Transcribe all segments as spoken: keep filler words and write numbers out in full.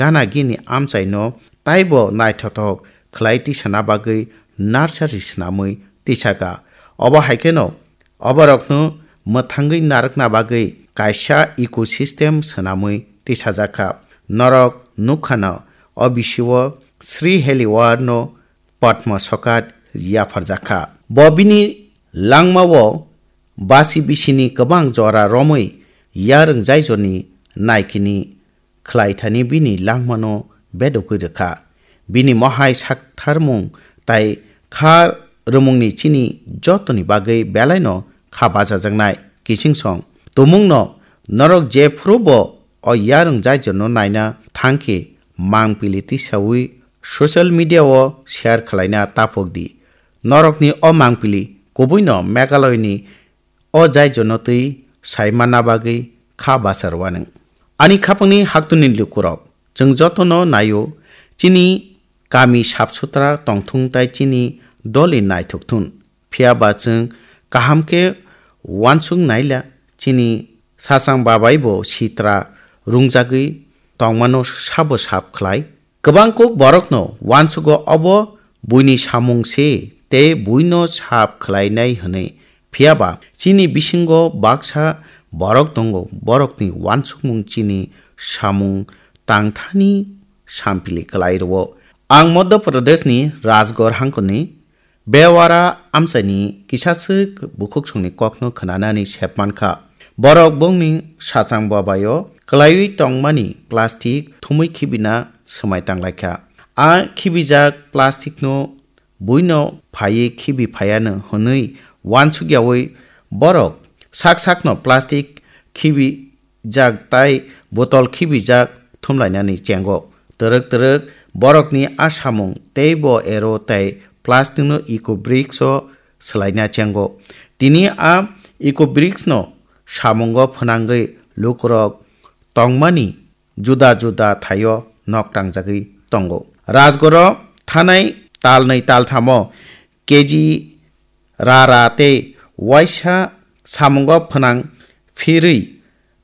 gana gini amchaino taibo naithothok khlai tisana bagwi nursery swnamwi tisaka. Obo hai kheno oborokno mwthangwi narwkna bagwi kaisa ecosystem swnamwi tisajakha. Norok nukkhano o bisio Sri Heliwar no Padma Sokat yapharjakha. Bo bini langmao basi bisini kwbang jora romwi yarwng jaijorni naikini khlaithani bini langmano bedogwi rwkha. Bini mohai saktharmung tai kha rwmungni chini jotoni bagwi belaino kha bachajaknai. Kichingsong tumungno norok jephuru bo o yarwng jaijorno naina thangkhe mangpili tisawi social media o share khlaina taphok di. Norokni o mangpili kubuino Meghalaya ni o jaijono twi sai manna bagwi kha bachar wanwng. Ani khapangni haktwni lukurok, chwng jotono naio, chini kami sap sutra tongthung tai chini doli naithok thun. Phiya ba chwng kaham khe uansuk naila, chini sachang babai bo sitra rungjagwi tongmano sabo sap khlai. Kwbang kuk borokno uansugo obo buini samung se tei buino sap khlainai hwnwi. Phiya ba chini bisingo baksa borok tongo, borokni uansukmung chini samung tangthani sampili kwlai rwo. Ang Madhya Pradeshni Rajgarh hangkoni Bewara amchaini kisaswk bukhuksongni kokno khwnanani sep mankha. Borok bongni sachang babaio kwlaiwi tongmani plastic thumwi khibina swmai tanglaikha. A khibijak plasticno buino phaiwi khibi phaiano hwnwi uansukyawi borok sak sakno plastic khibi jak tai botol khibijak thumlainani chengo. Twrwk twrwk borokni a samung teibo ero tai plasticno eco bricks o swlaina chengo. Tini a eco bricks no samungo phwnangwi lukurok tongmani juda juda thaio nok tangjagwi tongo. Rajgarho thanai talnwi talthamo K G rara tei uaisa samungo phwnang phirwi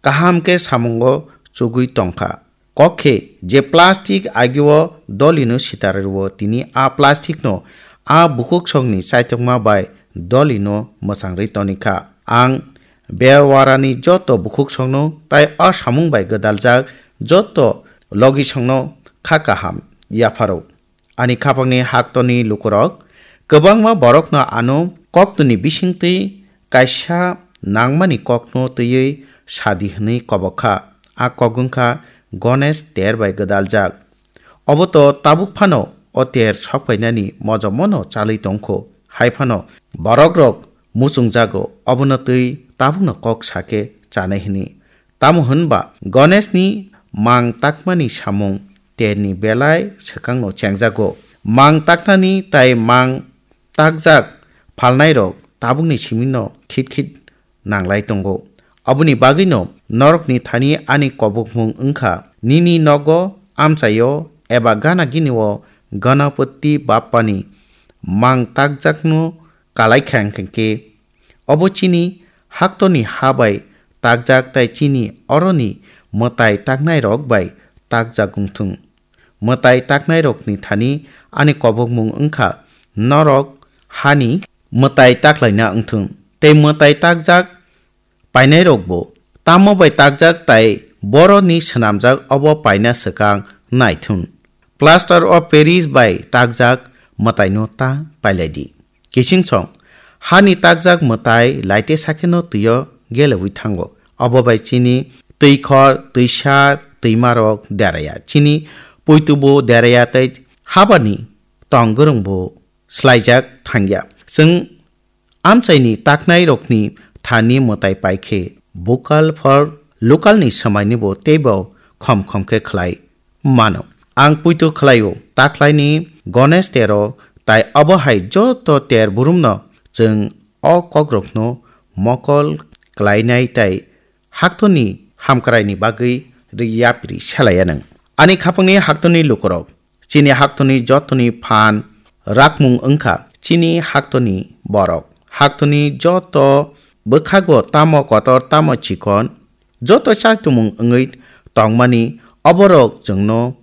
kaham khe samungo chugwi tongkha. Kok khe je plastic agio dolino sitarwi rwo, tini a plasticno a bukhuksongni chaitokma bai dolino mwchangwi tonikha. Ang Bewarani joto bukhuksongno tai a samung bai gwdaljak joto logisongno kha kaham yapharo. Ani khapangni haktorni lukurok, kwbangma borokno ano koktwni bisingtwi kaisa nangmani kokno twiwi sadi hwnwi kobok kha. A kok wngkha Ganesh ter bai gwdaljak. Obo to tabuk phano o ter sokpainani mojomono chalwi tongkho. Hai phano borokrok muchungjago, obono twi tabukno kok sakhe chanai hwnwi. Tamo hwn ba Ganeshni mang takmani samung terni belai swkangno chengjago. Mang taknani tai mang takjak phalnairok tabukni simino khit khit nanglai tongo. Aboni bagwino norokni thani ani kobokmung wngkha, nini nogo amchaio eba gana ginio Ganapati Bappani mang takjakno kalai kha, hwnkhe obo chini haktorni ha bai takjak tai chini oroni mwtai taknairok bai takjak wngthung. Mwtai taknairokni thani ani kobokmung wngkha, norok hani mwtai taklaina wngthung. Tei mwtai takjak painairokbo tamo bai takjak tai boroni swnamjak obo paina swkang naithun. Plaster of Paris bai takjak mwtaino ta pailai di. Kichingsong, hani takjak mwtai laite sakheno twio gelewi thango. Obo bai chini twikhor, twisa, twimarok deraya. Chini puitubo deraya tei habani tong gwrwngbo swlaijak thangya. Chwng amchaini taknairokni thani mwtai paikhe vocal for local ni swmainibo teibo khom khom khe khlai mano. Ang puitu khlaio, taklaini Ganesh tero tai obo hai joto ter burumno chwng o kokrokno mokol klainai tai haktorni hamkraini bagwi rwi yapri selaya nwng. Ani khapangni haktorni lukurok, chini haktorni jotoni phan rakmung wngkha chini haktorni borok. Haktorni joto bwkhago tamo kotor tamo chikon, joto chaitumung wngwi tongmani oborok chwngno